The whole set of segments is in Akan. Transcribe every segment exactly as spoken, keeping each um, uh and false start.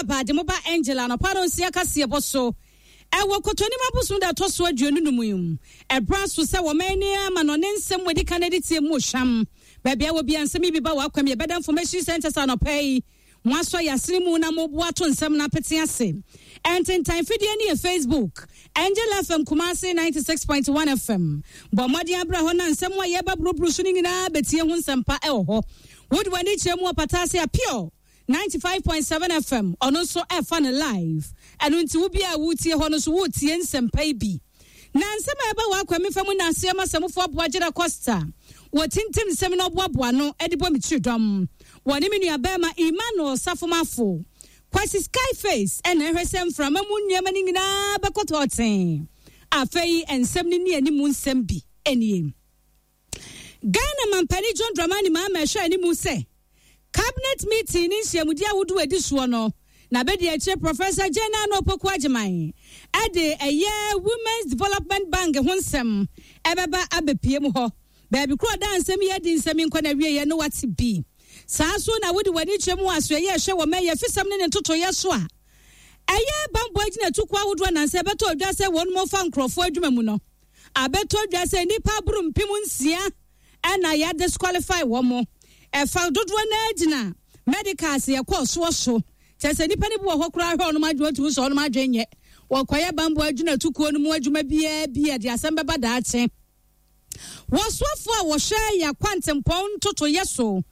akwaaba de mo ba Angel anɔpa no nsia kaseɛbɔ so. Ɛwɔ Kɔtɔnim abosom da ɛtɔ so aduonu num yi mu. Ɛbra so sɛ wɔman ni ama no ne nsɛm wɔdi kan de tie mu hwam. Baabi a wɔ bia nsɛm yi bi ba wɔ akwam yɛbɛda Information Centers anɔpa yi. Mo asɔ yasene mu na mo boa to nsɛm na apete ase. Ɛntentan fidie ne yɛ Facebook. Angel F M Kumasi ninety six point one F M. Bɔ mmɔden abra hɔ na nsɛm a yɛba buruburu so no nyinaa bɛtie ho nsɛmpa ɛwɔ hɔ. Wode w'ani kyerɛ mu wɔ Pataase a Pure ninety five point seven F M ɔno nso ɛfa no live. Ɛno nti wo bia a wotie hɔ no so wotie nsɛmpa yi bi. Na nsɛm a ɛba wɔ akwa mefa mu na aseɛ ma sɛmfoɔ aboa Gyeda Costa. Wɔtintim nsɛm na ɔboaboa no de bɔ me tiri dɔm. Wɔne me nua bɛrima Emmanuel Safomafo. Kwasi Skyface ɛna ɛhwɛ sɛ mframa mu nneɛma no nyinaa bɛkɔ tɔɔten. Afei nsɛm no ne anim nsɛm bi nie. Ghana mampani John Dramani Mahama ɛhwɛ anim sɛ cabinet meeting ne nhyiamudi ahodoɔ adi soɔ no na bɛdi akyire Professor Jane Naana Opoku Agyemang ɛde ɛyɛ Women's Development Bank ho nsɛm ɛbɛba abɛpie mu hɔ. Baabi koro da nsɛm yi adi nsɛm nkɔ na wieɛ no wate bi. Saa so na wode w'ani kyerɛ mu asoɛyɛ ɛhwɛ wɔ mɛyɛ fisɛm ne ne ntotoyɛ so a ɛyɛ bambɔ agyina tuku ahodoɔ nansɛ ɛbɛtɔ odwa sɛ wɔn mo fa nkurɔfoɔ adwuma mu no abɛtɔ odwa sɛ nnipa aboro mpem nsia ɛna yɛ disqualify wɔn mo. Ɛfa dodoɔ no agyina medicals yɛkɔɔ soɔ so kyerɛ sɛ nnipa no bi wɔ hɔ koraa hwɛ ɔnom adwene otumi sɛ ɔnom adwene nyɛ wɔkɔyɛ bambɔ agyina tukuo no mu adwuma biara bi a de asɛm bɛba daakye. Wɔsoafoɔ a wɔhwɛ yɛ akwantempɔn ntotoyɛ so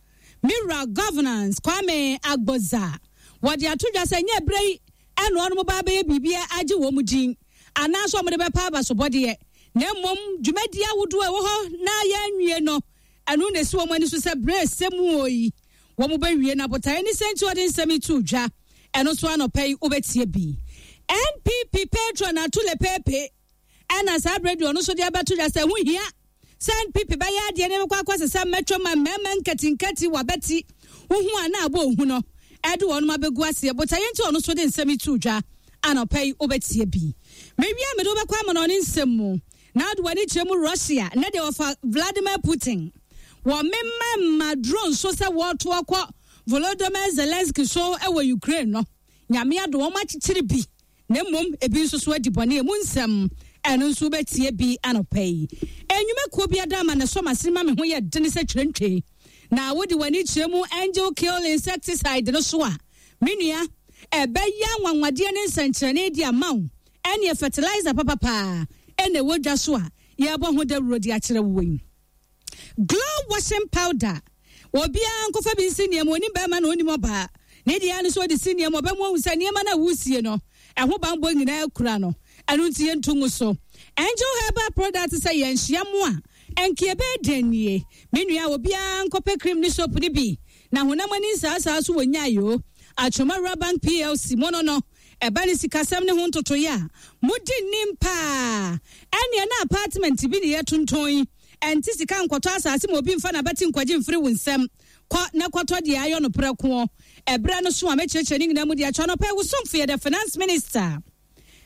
Mira Governance Kwame Agbodza wɔde ato dwa sɛ nyɛ berɛ yi ɛna ɔnom ba bɛyɛ biribi agye wɔn mu din anaasɛ wɔde bɛpa abasobɔdeɛ na mmom dwumadie ahodoɔ a ɛwɔ hɔ na yɛnwie no ɛno na esi wɔn ani so sɛ berɛ ɛsɛ mu wɔ yi wɔn bɛwie na botaeɛ ne sɛ nti wɔde nsɛm yi to dwa. Ɛno nso anɔpa yi wobɛtie bi. N P P patron Atule Pepe ɛna saa berɛ deɛ ɔno nso de abɛto dwa sɛ ho hia sɛ N P P bɛyɛ adeɛ ne bɛkɔ akɔ sɛ mɛtwa ma mmarima nkatenkati wabɛti wohu a na abɔ ohu no ɛde wɔn abɛgu aseɛ botaeɛ nti ɔno nso de nsɛm yi to dwa anɔpa yi wobɛtie bi. Mewia mede wobɛkɔ ama no ɔne nsɛm mu na wode w'ani kyerɛ mu Russia ne deɛ wɔfa Vladimir Putin wɔ mema ma drone so sɛ wɔto akɔ Volodymyr Zelensky so ɛwɔ Ukraine no nyame ado wɔn akyekyere bi na mmom ebi nso so adi bɔne emu nsɛm ɛno nso wobɛtie bi anɔpa yi. Enwumakuo bi ada ama ne so masene ma me ho yɛ dene sɛ twerɛntwe na wode w'ani kyerɛ mu Angel Kill insecticide no so a me nua ɛbɛyɛ anwanwadeɛ ne nsɛnkyerɛnne di ama wo ɛne fertilizer papapaa ɛna ɛwɔ dwa so a yɛbɔ ho dawuro de akyerɛ wo yi. Glow washing powder obiara nkɔfa bi nsi nneɛma onim bɛrima na onim ɔbaa ne deɛ no so ɔde si nneɛma ɔbɛmu ahu sɛ nneɛma no a wusie no ɛho bambɔ nyinaa kura no ɛno nti yɛnto ngu so. Angel Herbal product sɛ yɛnhyia mu a ɛnke ɛbɛyɛ den nie me nua obiara nkɔpɛ cream ne soap ne bi na honam ani nsaasaa so wɔ nyaayoo Atwoma Bank P L C mo no no ɛba ne sikasɛm ne ho ntotoyɛ a modi nnim paa ɛneɛ na apartment bi ne yɛtontɔn yi ɛnte sika nkɔtɔ asase ma obi mfa n'abati nkɔgye mfiri wo nsɛm kɔ na kɔtɔ deɛ ayɔ no prɛko ɛberɛ no so a mɛkyerɛkyerɛ ne nyinaa mu deɛ atwa no pɛ wo somfo yɛ the finance minister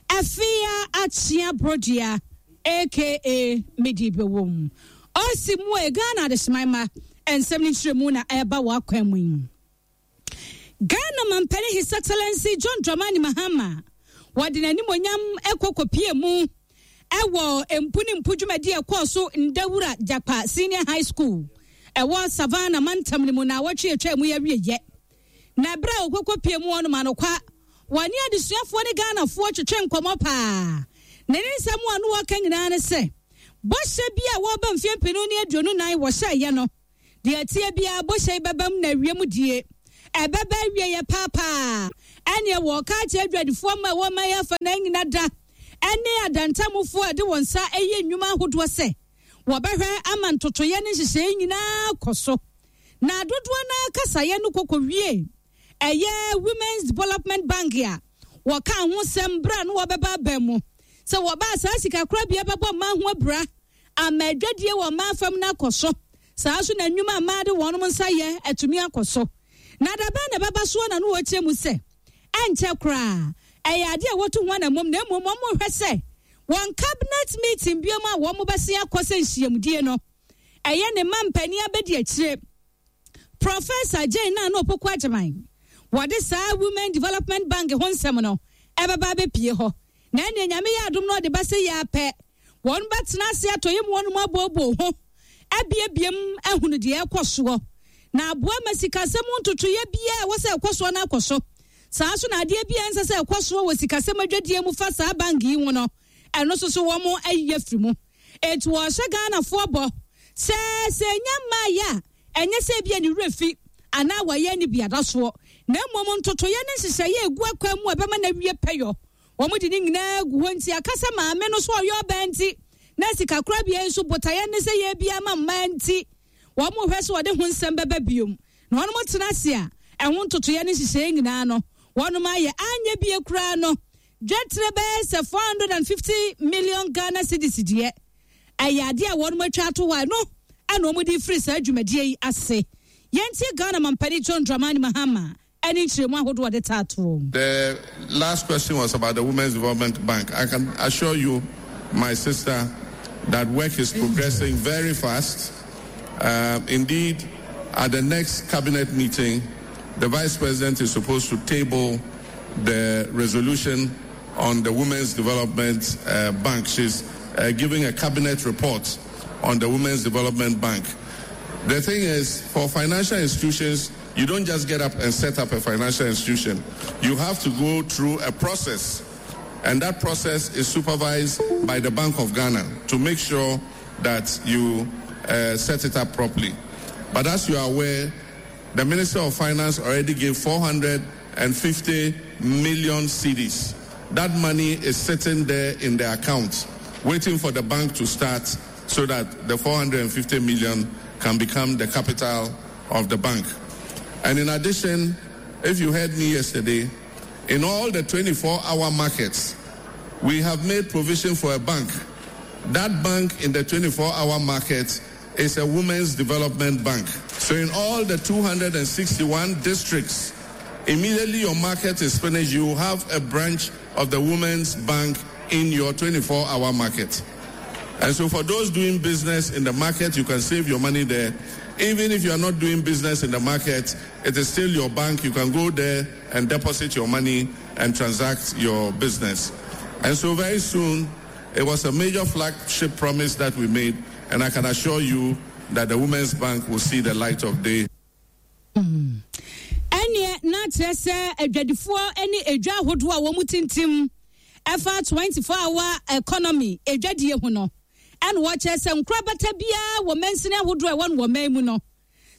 Afia Akyea Brodua aka Medi Bewom ɔsi mu e Ghana adehyeman ma nsɛm ne nkyerɛmu na ɛba wɔ akwan mu yi. Ghana mampani His Excellency John Dramani Mahama wɔde n'animonyam ɛkɔ kɔpie mu ɛwɔ mpu ne mpu dwumadi ɛkɔɔ so Ndawura Jakpa Senior High School ɛwɔ Savannah mantam ne mu na wɔtwe atwa mu yɛwieyɛ na berɛ a wɔkɔkɔpie mu ɔnom anokwa wɔne adesuafoɔ ne Ghanafoɔ twetwe nkɔmmɔ paa na ne nsɛm a no wɔka nyinaa ne sɛ bɔhyɛ bi a wɔba mfeɛ mpenu ne aduonu nan wɔhyɛeɛ no deɛ tie biara bɔhyɛ yi bɛbam na awie mu die ɛbɛbɛ awie yɛ paapaa ɛneɛ wɔka akyerɛ adwadifoɔ ma ɛwɔ ma yɛafa na nyina da ɛne adantamufoɔ a de wɔn nsa ɛyɛ nnwuma ahodoɔ sɛ wɔbɛhwɛ ama ntotoyɛ ne nhyehyɛeɛ nyinaa kɔ so na dodoɔ no kasaeɛ no kɔkɔ wie ɛyɛ Women's Development Bank a wɔka ho sɛm berɛ no wɔbɛba aba mu sɛ wɔbaa saa sika korabea bɛbɔ mmaa ho abura ama adwadie wɔ mmaa fam no akɔ so saa so na nnwuma mmaa de wɔn nsa yɛ atumi akɔ so na dabɛn na ɛbɛba soɔ na no wɔkyerɛ mu sɛ ɛnkyɛ koraa ɛyɛ adeɛ a wɔto ho anammɔm na mmom wɔn hwɛ sɛ wɔn cabinet meeting biom a wɔn bɛsen akɔ sɛ nhyiamudie no ɛyɛ ne mma mpanin abɛdi akyire Professor Jane Naana Opoku Agyemang Wɔde saa Women Development Bank ho nsɛm no ɛbɛba abɛpie hɔ. Na ɛnneɛ Nyame yɛ adom na ɔde ba sɛ yɛ apɛ, wɔn bɛtena ase atɔ yɛ mu wɔn mu abooboo ho abiebiem ahunu deɛ ɛkɔ soɔ na aboa ma sikasɛm ntotoeɛ biara ɛwɔ sɛ ɛkɔ soɔ no akɔ so. Saa nso na adeɛ biara nsɛ sɛ ɛkɔ soɔ wɔ sikasɛm adwadie mu fa saa bank yi ho no, ɛno nso so wɔn ayi afiri mu. Eti wɔhyɛ Ghanafoɔ bɔ sɛ sɛ enya mmaayɛ a, ɛnyɛ sɛ ebi a ne werɛ fi anaa wɔyɛ ne biada soɔ, na mmom ntotoeɛ ne nhyehyɛeɛ egu akwan mu a ɛbɛma no awie pɛyɔ. Wɔn de ne nyinaa gu hɔ nti akasa maame no so ɔyɛ ɔbaa nti na sikakorabea nso botaeɛ ne sɛ yɛ bi ama mmaa nti wɔn hwɛ so wɔde ho nsɛm bɛba biom na wɔn tena ase a ɛho ntotoeɛ ne nhyehyɛeɛ nyinaa no wɔn ayɛ anyɛ bie koraa no dwetire bɛyɛ sɛ four hundred and fifty million Ghana cedis deɛ ɛyɛ adeɛ a wɔn atwa ato hɔ no ɛna wɔn de firi saa dwumadie yi ase. Yɛntie Ghana mampanin John Dramani Mahama ɛne nkyerɛmu ahodoɔ de taatoɔ. The last question was about the Women's Development Bank. I can assure you, my sister, that work is progressing very fast. Uh, indeed, at the next cabinet meeting, the Vice President is supposed to table the resolution on the Women's Development uh, Bank. She's uh, giving a cabinet report on the Women's Development Bank. The thing is, for financial institutions, you don't just get up and set up a financial institution. You have to go through a process, and that process is supervised by the Bank of Ghana to make sure that you uh, set it up properly. But as you are aware, the Minister of Finance already gave four hundred fifty million cedis. That money is sitting there in the account, waiting for the bank to start so that the four hundred fifty million can become the capital of the bank. And in addition, if you heard me yesterday, in all the twenty-four hour markets, we have made provision for a bank. That bank in the twenty-four hour market is a women's development bank. So in all the two hundred sixty-one districts, immediately your market is finished, you have a branch of the Women's Bank in your twenty-four hour market. And so for those doing business in the market, you can save your money there. Even if you are not doing business in the market, it is still your bank. You can go there and deposit your money and transact your business. And so very soon, it was a major flagship promise that we made, and I can assure you that the Women's Bank will see the light of day. Ɛneɛ na kyerɛ sɛ adwadifoɔ ne edwa ahodoɔ a wɔn tintim ɛfa twenty-four hour economy edwadie ho no, ɛna wɔkyerɛ sɛ nkorabata biara wɔ mansini ahodoɔ a ɛwɔ no wɔ man mu no,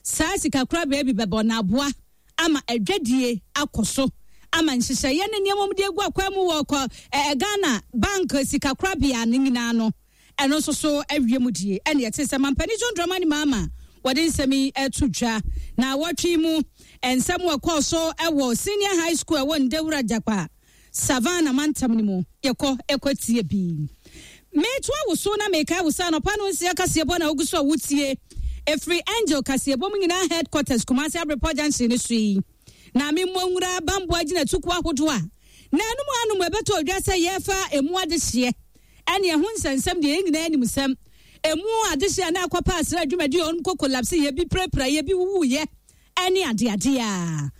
saa sikakorabea bi bɛbɔ n'aboa ama adwadie akɔ so ama nhyehyɛeɛ ne nneɛma mu de agu akwan mu wɔ kɔ ɛɛ Ghana Bank sikakorabea ne nyinaa no, ɛno nso so awie mu die. Ɛna yɛte sɛ mampanin John Dramani Mahama wɔde nsɛm yi ɛto dwa na wɔtwe mu nsɛm wɔ kɔɔ so ɛwɔ senior high school ɛwɔ Ndewura Jakpa Savannah mantam no mu. Yɛkɔ ɛkɔ tie bi. Meto awoso na meka awosa anɔpa no nsia kaseɛbɔ na ogu so a wotie efiri Angel kaseɛbɔ mu nyinaa headquarters Kumasi Abrepɔ Junction ne so yi. Na me mmɔ nwura bamboa gyina tuku ahodoɔ a na anum anum ɛbɛtɔ odwa sɛ yɛfa emu adehyeɛ ɛne ɛho nsɛnsɛm deɛ yɛn nyinaa anim sɛm emu adehyeɛ na akɔpa asra adwumadi ɔnom kɔ collapse yɛ bi prapra yɛ bi wuwuyɛ ɛne adeade a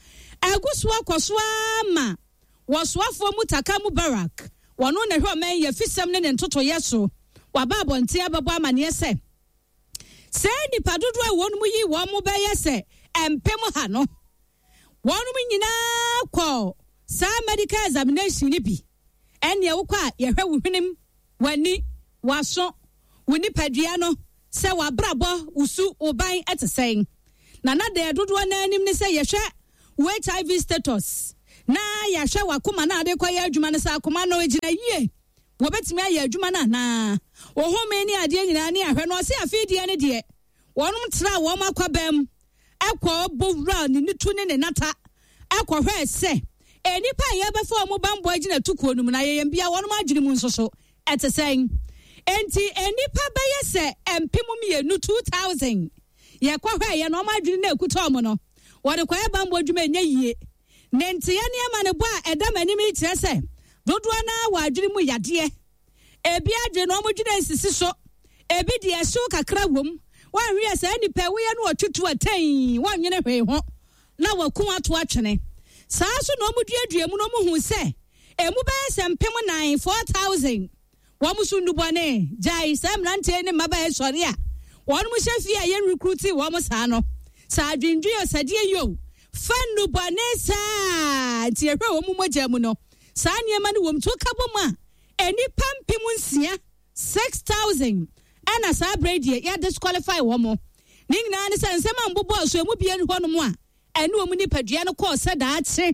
ɛgu so akɔ so ama wɔsoafoɔ mu taka mu barak wɔno na hwɛ ɔman yɛ fisɛm ne ne ntotoyɛ so waba abɔnten abɛbɔ amaneɛ sɛ sɛ nipa dodoɔ a wɔn mu yi wɔn mo bɛyɛ sɛ mpem ha no wɔn mu nyinaa kɔ saa medical examination ni bi ɛnea wokɔ a yɛhwɛ wo hwenem w'ani w'aso wo nipadua no sɛ w'abrabɔ wo su wo ban ɛte sɛn na na deɛ dodoɔ n'anim ne sɛ yɛhwɛ wo H I V status na yɛahwɛ w'akoma na ade kɔyɛ adwuma no sɛ akoma no gyina yie wɔbɛtumi ayɛ adwuma no anaa wɔhome ne adeɛ nyinaa ne ahwɛ no ɔse afei deɛ ne deɛ wɔnom tra wɔn akɔbɛm ɛkɔ bɔwura ne nitu ne ne nata ɛkɔhwɛ sɛ enipa a yɛbɛfa wɔn bambɔ agyina tukuo no mu na yɛyɛ mbia wɔnom adwene mu nso so ɛte sɛn enti enipa bɛyɛ sɛ mpem mmienu two thousand yɛkɔhwɛ yɛ no wɔn adwene na ekuta wɔn no wɔde kɔyɛ bambɔ adwuma nyɛ yie. Ne nteɛ nneɛma ne bɔ a ɛda m'anim yi kyerɛ sɛ dodoɔ naa wɔ adwene mu yadeɛ ebi adwene na wɔn dwene nsisi so ebi deɛ ɛhyew kakra wom wɔnhwɛ saa nipa woyɛ no ɔtutu atɛn wɔnwene hwee ho na wɔko ato atwene Saa so na wɔn duadua mu na wɔn hu sɛ emu bɛyɛ sɛ mpem nan, four thousand, wɔn so nnubɔne. Gyae saa mmeranteɛ ne mmabaa sɔre a wɔn hyɛ fie a yɛn recruit wɔn saa no, saa adwendwen ɔsɛdeɛ yi o fa nnubɔne saa. Nti yɛhwɛ wɔn mu mogya mu no, saa nneɛma no wɔm to ka bɔ mu a, nnipa mpem nsia, six thousand, ɛna saa berɛ deɛ yɛ disqualify wɔn. Mo ne nyinaa ne sɛ nsɛm a mbobɔ so emu bie hɔnom a ɛne wɔn nipadua no kɔɔ sɛ daakye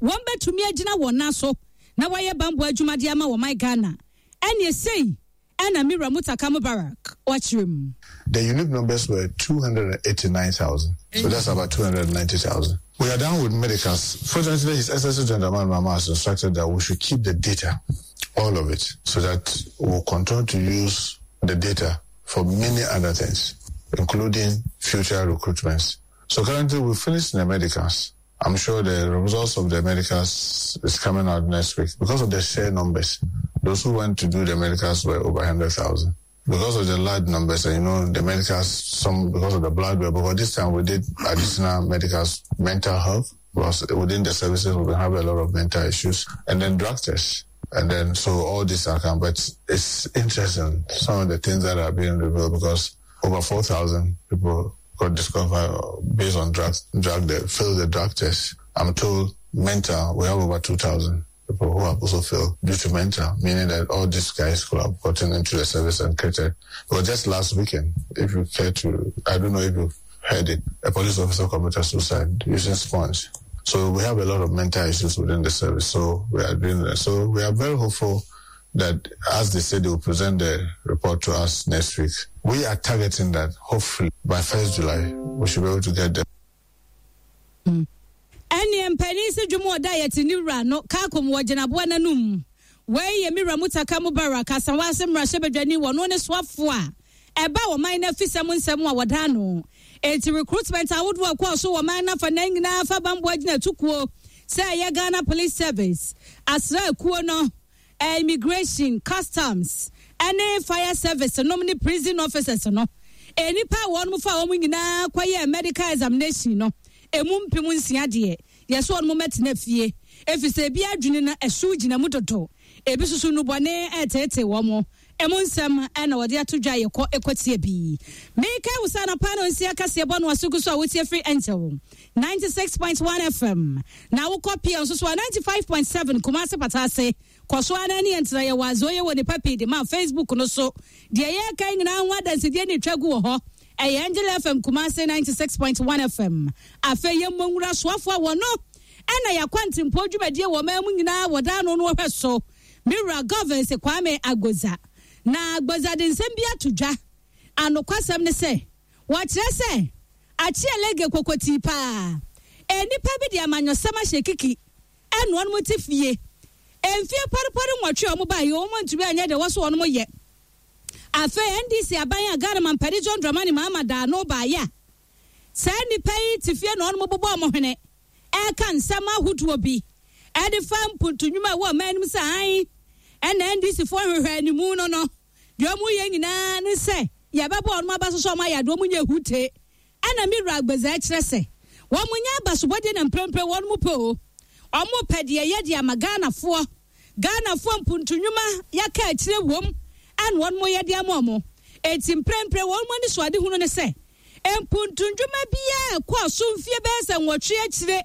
wɔn bɛtumi agyina wɔn nan so na wɔayɛ bambɔ adwumadeɛ ama wɔn man Ghana. Ɛne esei ɛna Mira Mutaka Mubarak wɔkyerɛ mu. The unique numbers were two hundred eighty-nine thousand. So that's about two hundred ninety thousand. We are done with medicals. Fortunately, His Excellency John Dramani Mahama has instructed that we should keep the data, all of it, so that we'll continue to use the data for many other things, including future recruitments. So currently, we finished the medicals. I'm sure the results of the medicals is coming out next week. Because of the sheer numbers, those who went to do the medicals were over one hundred thousand. Because of the large numbers, and you know, the medicals, some because of the blood, because this time we did additional medicals, mental health, because within the services we have a lot of mental issues, and then drug tests. And then, so all this are come, but it's interesting, some of the things that are being revealed, because over four thousand people got disqualified based on drugs, drug, they failed the drug test. I'm told mental, we have over two thousand people who have also failed due to mental, meaning that all these guys could have gotten into the service and created. But just last weekend, if you care to, I don't know if you've heard it, a police officer committed suicide using sponge. So we have a lot of mental issues within the service. So we are doing that. So we are very hopeful that, as they said, they will present the report to us next week. We are targeting that hopefully by first July, we should be able to get them. Ɛneɛ mpanin sɛ dwom ɔda yɛte ne wura no kaakom wɔ gyinaboa n'anum. Wei yɛ Mira Mutaka Mubarak, Asawase mmarahyɛbadwani, wɔno ne soafoɔ a ɛba wɔ man no afisɛm nsɛm a wɔda no. Enti recruitment ahodoɔ a ɛkɔɔ so wɔ man no afa nan nyinaa fa bamboa gyina tukuo sɛ ɛyɛ Ghana Police Service, asraakuo no, immigration, customs ɛne fire service nom ne prison officers no, nnipa a wɔn fa wɔn nyinaa kɔyɛ medical examination no, emu mpem nsia deɛ, yɛsɛ wɔn mɛtena fie, efisɛ ebi adwene no ɛso gyina mu dodo, ebi soso nubɔne ɛɛtɛɛtɛ wɔn. Ɛmu nsɛm ɛna wɔde ato dwa. Yɛkɔ ɛkɔtie bi. Meka wusa anapa no nsia kaseɛ bɔ no asogu so a wotie firi Angel ninety-six point one F M, na wokɔ pia nso so a ninety-five point seven Kumase Patase. Kɔ so ana ne yɛntena yɛwɔ azoyɛ wɔ nipa pii de ma Facebook no so. Deɛ yɛka nyinaa ho adansedie ne twa gu wɔ hɔ. Ɛyɛ Angel F M Kumase ninety-six point one F M. Afei yɛmmɔ nwura soafoɔ a wɔno ɛna yɛakɔ ntempo dwumadie wɔ ɔman mu nyinaa wɔda no no wɔhwɛ so, Mewura Governs Kwame Agbodza. Na Agbodza de nsɛm bi ato dwa. Anokwasɛm ne sɛ wɔkyerɛ sɛ akyeɛ lege kokotii paa, nnipa bi de amanyɔsɛm ahyɛ kiki ɛna wɔn te fie mfie pɔrepɔre nwɔtwe a wɔn baa yi, wɔn ntumi anyɛ deɛ wɔso wɔn yɛ. Afei N D C aban a Ghana mampani John Dramani Mahama daa no baayɛ a, saa nnipa yi te fie na wɔn bobɔ wɔn hwene ɛka nsɛm ahodoɔ bi ɛde fa mpuntunwuma a ɛwɔ ɔman anim sɛ an ɛna N D C foɔ hwehwɛ animu no no deɛ wɔn yɛ nyinaa ne sɛ yɛbɛbɔ wɔn aba so sɛ wɔn ayɛ adeɛ wɔn nyɛ hute. Ɛna Mewura Agbedza kyerɛ sɛ wɔn nyɛ abasobɔdeɛ na mprempren wɔn mu pɛ o, wɔn pɛ deɛ yɛ de ama Ghanafoɔ, Ghanafoɔ mpuntunwuma yɛka akyire wom ɛna wɔn mo yɛ de ama wɔn. Eti mprempren wɔn mo ani so ade hunu ne sɛ mpuntunwuma biara kɔɔ so mfie bɛyɛ sɛ nwɔtwe akyire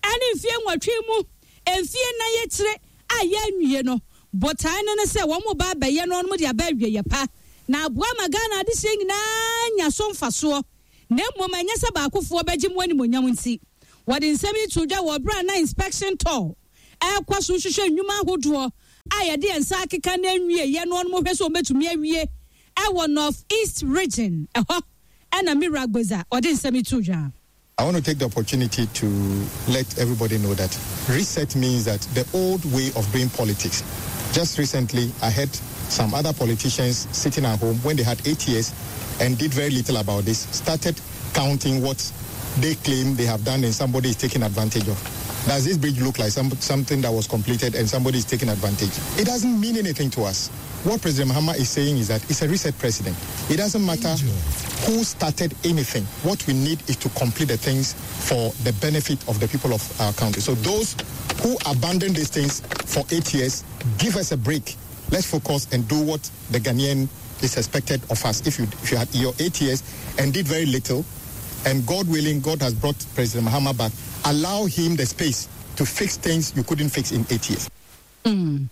ɛne mfie nwɔtwe mu, mfie nan akyire a yɛnwie no, botae no ne sɛ wɔn mo ba abɛyɛ no, wɔn mo de aba awie pa na aboa ma Ghana adehyɛ nyinaa nya so mfasoɔ, na mmom ɛnyɛ sɛ baakofoɔ bɛgye mu animonyam. Nti wɔde nsɛm yi to dwa wɔ berɛ a na inspection tour ɛrekɔ so hwehwɛ nnwuma ahodoɔ a yɛde yɛn nsa akeka na nwie yɛ no, ɔno hwɛ sɛ wɔbɛtumi awie ɛwɔ North East Region ɛhɔ. Ɛna Mira Agbodza ɔde nsɛm yi to dwa. I want to take the opportunity to let everybody know that reset means that the old way of doing politics. Just recently, I heard some other politicians sitting at home when they had eight years and did very little about this, started counting what they claim they have done and somebody is taking advantage of. Does this bridge look like some, something that was completed and somebody is taking advantage? It doesn't mean anything to us. What President Mahama is saying is that it's a reset president. It doesn't matter who started anything. What we need is to complete the things for the benefit of the people of our country. So those who abandoned these things for eight years, give us a break. Let's focus and do what the Ghanaian is expected of us. If you, if you had your eight years and did very little, and God willing, God has brought President Mahama back, allow him the space to fix things you couldn't fix in eight years. Mm.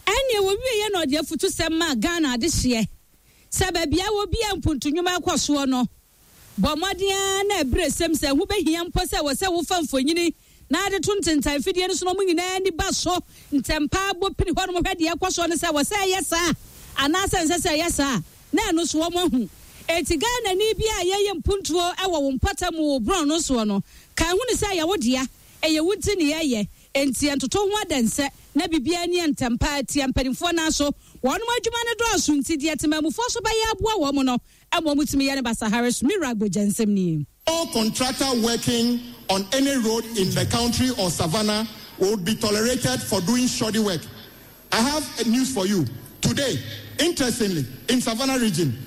Ɛnneɛ wɔwie yɛ na ɔde afutu sɛm ma Ghana adehyeɛ sɛ baabi a wɔbi a mpuntunwuma akɔ soɔ no, bɔ mmɔden ara na ɛberɛ sɛm sɛ ho bɛhia mpo sɛ wɔ sɛ wofa mfonyini na ade to ntentan fidie no so no, ɔmo nyinaa ani ba so ntɛmpa bɔ pini hɔ nom hwɛ deɛ ɛkɔ soɔ no sɛ wɔ sɛ ɛyɛ saa anaasɛ nsɛ sɛ ɛyɛ saa na ɛno so wɔn ahu. Eti Ghana ni bi a yɛyɛ mpuntuo ɛwɔ wo mpɔtam wɔ borɔn no soɔ no, ka ehu ne sɛ ɛyɛ wo dea, ɛyɛ wo nti ne yɛyɛ, enti ntoto ho adɛnsɛ na biribiara ni ntɛmpa tia mpanimfoɔ naa so wɔn adwuma no dɔɔso, nti deɛ temamufoɔ so bɛyɛ aboa wɔn no ɛma wɔn tumi yɛ no basahare so. Mira Agbogya nsɛm nie. No contractor working on any road in the country or Savannah would be tolerated for doing shoddy work. I have news for you. Today, interestingly, in Savannah region,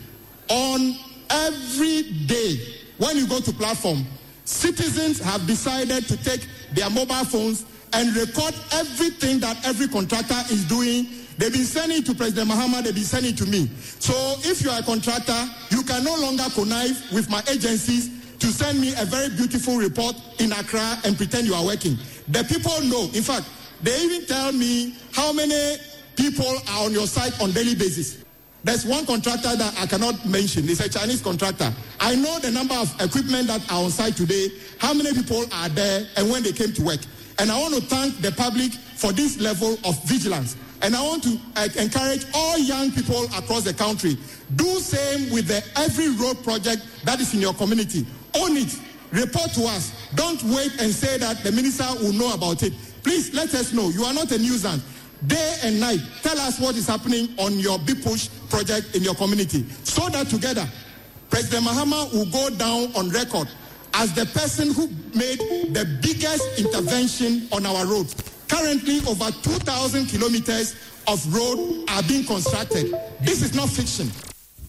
on every day when you go to platform, citizens have decided to take their mobile phones and record everything that every contractor is doing. They've been sending it to President Mahama, they've been sending it to me. So if you are a contractor, you can no longer connive with my agencies to send me a very beautiful report in Accra and pretend you are working. The people know. In fact, they even tell me how many people are on your site on daily basis. There's one contractor that I cannot mention. It's a Chinese contractor. I know the number of equipment that are on site today, how many people are there, and when they came to work. And I want to thank the public for this level of vigilance. And I want to uh, encourage all young people across the country, do same with the every road project that is in your community. Own it. Report to us. Don't wait and say that the minister will know about it. Please let us know. You are not a nuisance. Day and night, tell us what is happening on your Big Push project in your community, so that together, President Mahama will go down on record as the person who made the biggest intervention on our roads. Currently, over two thousand kilometers of road are being constructed. This is not fiction.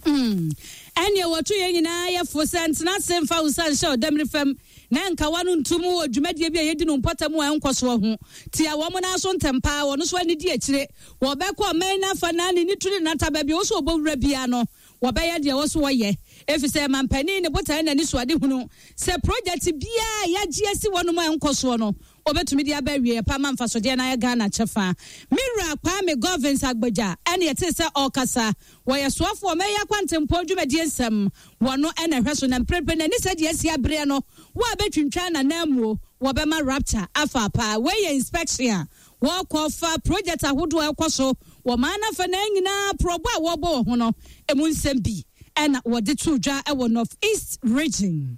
Mm. Ɛnneɛ wɔto yɛn nyinaa yɛfo sɛ ntena ase mfa wo nsa nhyɛ ɔdamiri fam na nkawa no ntom wɔ dwumadie bi a yɛdi no mpɔtam a ɛnkɔ soɔ ho tia wɔn nan so ntɛm paa. Wɔn nso ani di akyire, wɔbɛkɔ ɔman n'afa na ne ne turi nata baabi a wɔso wɔbɔ wura bia no, wɔbɛyɛ deɛ wɔ so wɔyɛ, efisɛ mampanin ne botae n'ani so ade hunu sɛ project biara yɛagye asi wɔn mu a ɛnkɔ soɔ no, obetumi de aba awie pa ma mfasodeɛ na ayɛ Ghana kyɛfa. Mira Kwame Govins Agbagya ɛne ɛte sɛ ɔrekasa, wɔyɛ soafoɔ ɔmɛyɛ akwantempɔn dwumadie nsɛm wɔno ɛna ɛhwɛ so, na mprempren n'ani sɛ deɛ asi abereɛ no wo a bɛtwintwan n'ananmuo wɔbɛma rapture afa paa. Wei yɛ inspection a wɔkɔ fa project ahodoɔ a ɛkɔ so wɔ maa nafa na nyinaa porɔbɔ a wɔrebɔ wɔ ho no emu nsɛm bi ɛna wɔde to dwa ɛwɔ North East Region.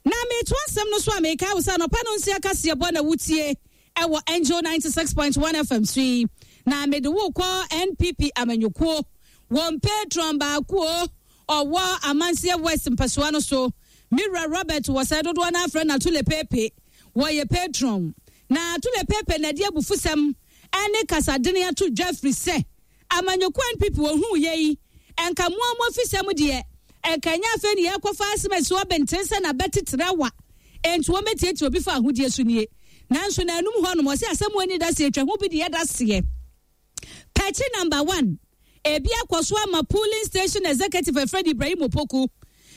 Na meto asɛm no so a meka wo sɛ anɔpa no nsia kaseɛ bɔ na wotie ɛwɔ Angel ninety-six point one F M so yi, na mede wo kɔ N P P amanyɔkuo wɔn patron baako o ɔwɔ Amanseɛ West mpɛsoa no so, Mira Robert wɔ sɛ dodoɔ no afrɛ no Atule Pepe, wɔyɛ patron na Atule Pepe na ɛde abufusɛm ɛne kasadene ato dwa firi sɛ amanyɔkuo N P P wɔhu yɛ yi ɛnka mmoa mo afisɛm deɛ ɛnka nyɛ afei ne yɛkɔfa asɛm asi ɔbɛnten sɛ n'abɛteterɛ wa enti wɔmɛtiatia obi fa ahodie so nie. Nanso n'anum hɔ nom ɔsɛ asɛm wɔ ani da seɛ atwa ho bi deɛ da seɛ pɛkyi number one ebi akɔ so ama polling station executive Efred Ibrahim Opoku.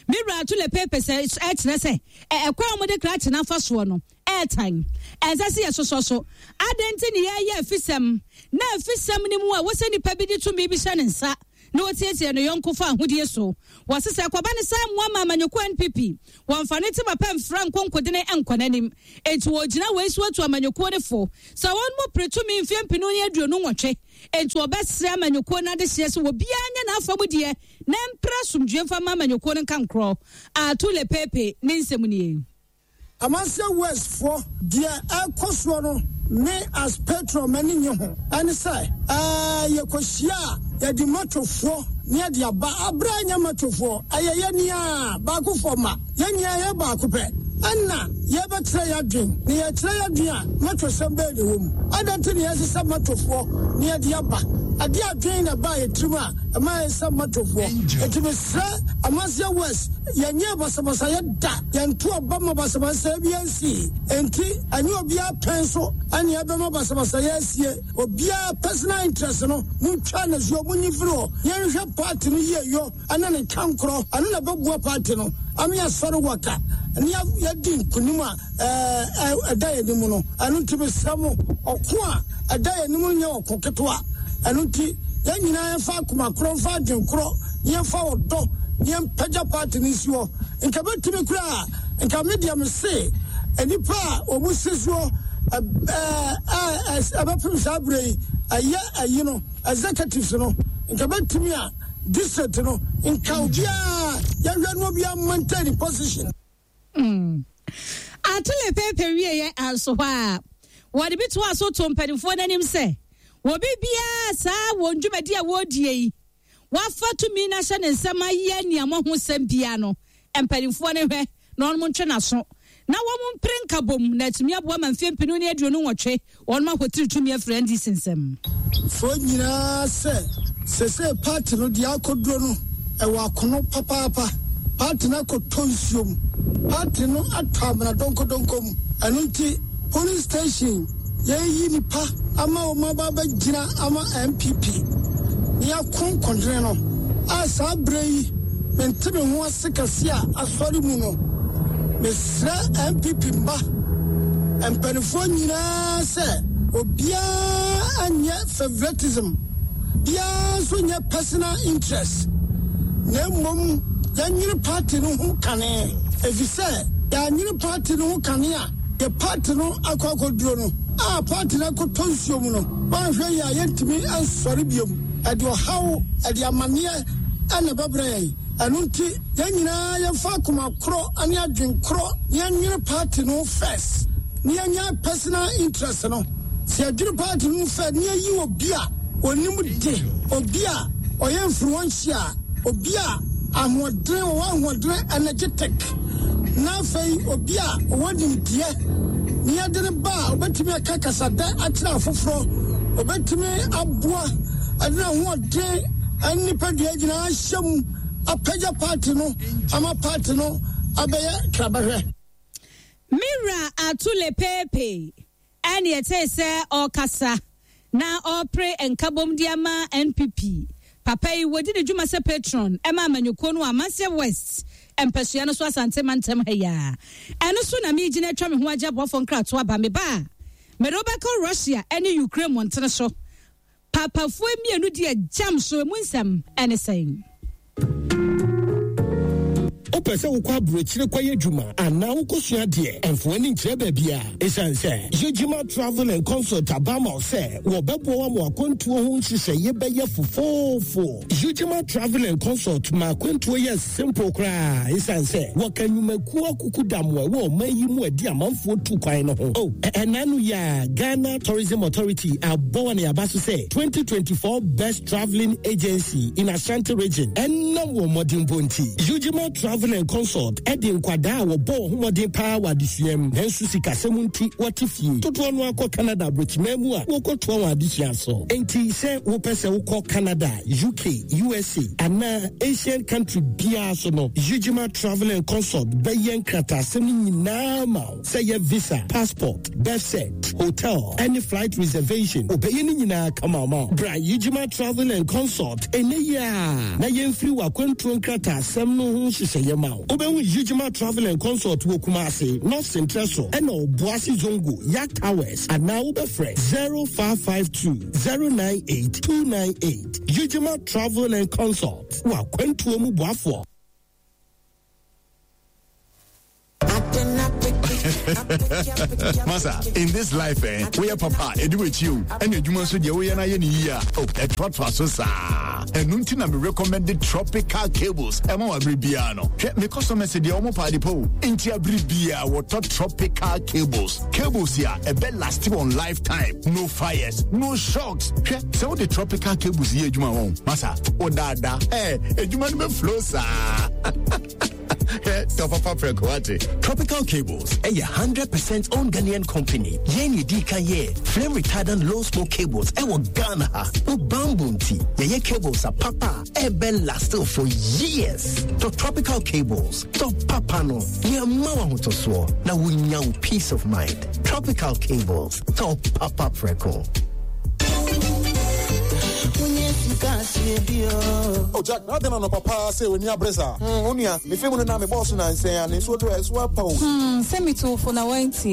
Mewura Atule Pepe sɛ ɛkyerɛ sɛ ɛkwan a wɔde krakye n'afa soɔ no ɛɛtan ɛnsɛ sɛ yɛsosɔ so adan nti ne yɛyɛ afisɛm na afisɛm no mu a wɔsɛ nipa bi de tumi bi hyɛ ne nsa na wɔtiatia ne yɔnko fa ahodie so. Wɔsesɛ kɔba ne saa mmoa ma amanyɔkuo N P P wɔmfa ne tema pɛ mfra nkonkodene nkɔ n'anim, enti wɔgyina wei so atu amanyɔkuo ne fo sɛ wɔn mu pere tumi mfeɛ mpenu ne aduonu nwɔtwe, enti wɔbɛsrɛ amanyɔkuo no adehyeɛ sɛ obiara nyɛ n'afa mu deɛ na mpere asomdwe mfa ma amanyɔkuo no nka nkorɔ. Atule Pepe ne nsɛm nie. Amanseɛ Westfoɔ, deɛ ɛkɔ soɔ no, me as patron m'ani nye ho. Ɛne sɛ ɛɛ yɛkɔhyia a yɛde matofoɔ ne yɛde aba aberɛ nyɛ matofoɔ, ɛyɛ yɛn nia baakofoɔ ma yɛn nyinaa yɛ baako pɛ. Ɛna yɛbɛkyerɛ yɛ adwen na yɛkyerɛ yɛ adwen a mɛtɔsɛm bɛɛ ne wɔ mu. Adɛn nti ne yɛsesɛ matofoɔ ne yɛde aba ade adwen na ɛbaa yɛ tirim a ɛma yɛsɛ matofoɔ? Enti mesrɛ Amanseɛ West, yɛnyɛ basabasayɛ da, yɛnto aba ma basabasayɛ bi ansi. Enti ɛnyɛ obiara pɛn so ɛne ɛbɛma basabasayɛ asie. Obiara personal interest no, montwa ne soɔ, monyi firi hɔ. Yɛnhwɛ party no yie yɔ ɛne ne nkankorɔ, ɛno na ɛbɛboa party no ame asɔre waka ne yɛdi nkonim a ɛda yɛn anim no. Ɛno nti mesrɛ mo, ɔko a ɛda yɛn anim no nyɛ ɔko ketewa. Ɛno nti yɛn nyinaa yɛmfa akoma korɔ, mfa adwen korɔ, yɛmfa ɔdɔ, yɛmpagya party no nsi hɔ. Nka bɛtumi koraa, nka me deɛ me se nnipa a wɔn si soɔ ɛbɛpem saa berɛ yi ɛyɛ ayi no executives no, nka bɛtumi a district no nka obiara yɛhwɛ no obiara maintain position. Mm. Atole pepe wieɛ anso hɔ a wɔde bi toa so to mpanimfoɔ no anim sɛ wɔbi biara saa wɔn dwumadi a wɔredie yi wafa tumi no ahyɛ ne nsɛm ayɛ nneɛma ho sɛm biara no, mpanimfoɔ no hwɛ na wɔn ntwe n'aso na wɔn mpere nkabom na atumi aboa ma mfeɛ mpenu ne aduonu nwɔtwe wɔn ahotiri tumi afiri N D C nsɛm. Foɔ nyinaa sɛ sese party no deɛ akɔduro no ɛwɔ akono papaapa. Party no akɔtɔ nsuom, party no atɔ amena donkodonko mu. Ɛno nti police station yɛyi nipa ama wɔn aba abɛgyina ama N P P ne yɛako nkɔndene no a saa berɛ yi mente me ho ase kɛse a asɔre mu no. Mesrɛ N P P mba mpanimfoɔ nyinaa sɛ obiara anyɛ favoritism, biara nso nyɛ personal interest, na mmom yɛnyere party no ho kane, ɛfiri sɛ yɛanyere party no ho kane a yɛ party no akɔ akɔduro no a party no akɔtɔ nsuo mu no, woanhwɛ yi a yɛntumi ansɔre biom. Ɛde ɔhaw, ɛde amanneɛ ɛna ɛbɛbrɛ yɛn. Ɛno nti yɛn nyinaa yɛmfa akoma korɔ ne adwen korɔ na yɛnwene party no first na yɛnya personal interest no. Sɛ yɛdwene party no first na yɛyi obi a onim de, obi a ɔyɛ influential, obi a ahoɔdene wɔwɔ ahoɔdene, energetic, na afei obi a ɔwɔ nimdeɛ na yɛde ne ba a obɛtumi aka kasadɛ akyerɛ afoforɔ, obɛtumi aboa ɛde n'ahoɔden ɛne nipadua nyinaa hyɛ mu apagya party no ama party no abɛyɛ krabɛhwɛ. Mira Atule Pepe ɛne ɛtee sɛ ɔrekasa na ɔrepere nkabom de ama N P P. Papa yi wɔdi ne dwuma sɛ patron ɛma amanyɔkuo no Amanseɛ West mpasua no so, Asante mantam ha yi a ɛno so na megyina atwa me ho agye aboafoɔ nkratoɔ aba. Me ba a mede wobɛkɔ Russia ne Ukraine mmɔntene so, papafoɔ mmienu di agyam so emu nsɛm ɛne sɛn? Wopɛ sɛ wokɔ aburokyire kɔyɛ adwuma anaa wokɔsua deɛ, ɛmfo ani nkyerɛ baabi a ɛsiane sɛ Yɛgyima Travel and Consult aba ma wo sɛ wɔbɛboa wo ama akwantuo ho nhyehyɛeɛ bɛyɛ fofoofo. Yɛgyima Travel and Consult ma akwantuo yɛ simple koraa ɛsiane sɛ wɔka nnwumakuo akuku damoa ɛwɔ ɔman yi mu adi amanfoɔ tu kwan no ho. Oh, ɛna no yɛ a Ghana Tourism Authority abɔ wɔ ne aba so sɛ twenty twenty-four Best Travelling Agency in Ashanti Region ɛnam wɔ mmɔdenbɔ nti. Yɛgyima Travel and Consult ɛde nkwadaa a wɔbɔ wɔn ho mmɔden paa wɔ adesua mu nanso sikasɛm nti wɔte fie dodoɔ no akɔ Canada aburokyiman mu a wɔkɔtoa wɔn adesua so. Enti sɛ wopɛ sɛ wokɔ Canada, U K, U S A anaa Asian country biara so no, Yujima Travel and Consult bɛyɛ nkrataasɛm no nyinaa ma wo, sɛ yɛ visa, passport, birth cert, hotel ɛne flight reservation, wobɛyɛ no nyinaa kama ma wo. Bra Yujima Travel and Consult ɛnɛ yi a na yɛmfiri w'akwantuo nkrataasɛm no ho nhyehyɛeɛ ma wo. Wobɛhu Yujima Travel and Consult wɔ Kumase, North Central so ɛna Ɔboase Zongo Yak Towers, anaa wobɛfrɛ zero five five two zero nine eight two nine eight. Yujima Travel and Consult, wɔ akwantuo mu boafoɔ. Masa, in this life, eh, woyɛ papa ɛdi w'akyi o, ɛna adwuma nso deɛ woyɛ no ayɛ ne yie a, oh, ɛtoatoa so saa. Ɛno nti na me recommended Tropical Cables ɛma wɔ abere biara no. Hwɛ, me customers deɛ ɔmo paade pa o, nti abere biara wɔtɔ Tropical Cables. Cables yi a ɛbɛ last wɔn lifetime, no fires, no shocks. Hwɛ, sɛ wode Tropical Cables yɛ adwuma wɔn, masa, wodaadaa, ɛ adwuma no bɛ flow saa. Hwɛ, tɔ papa prɛko ate. Tropical Cables ɛyɛ hundred percent owned Ghanaian company. Yɛn yɛ kan yɛ flame retardant low smoke cables ɛwɔ Ghana ha. Wo bamboo nti yɛyɛ cables a papa ɛbɛ last for years. Tɔ Tropical Cables, tɔ papa no, yɛ ma wo ahotosoɔ na wonya wo peace of mind. Tropical Cables, tɔ papa prɛko. Oh Jack, na then on papa say when you bresa. Hmm, onia, me feel na me boss na nsɛn a ne so do e so apa o. Hmm, sɛ metofo na wantie.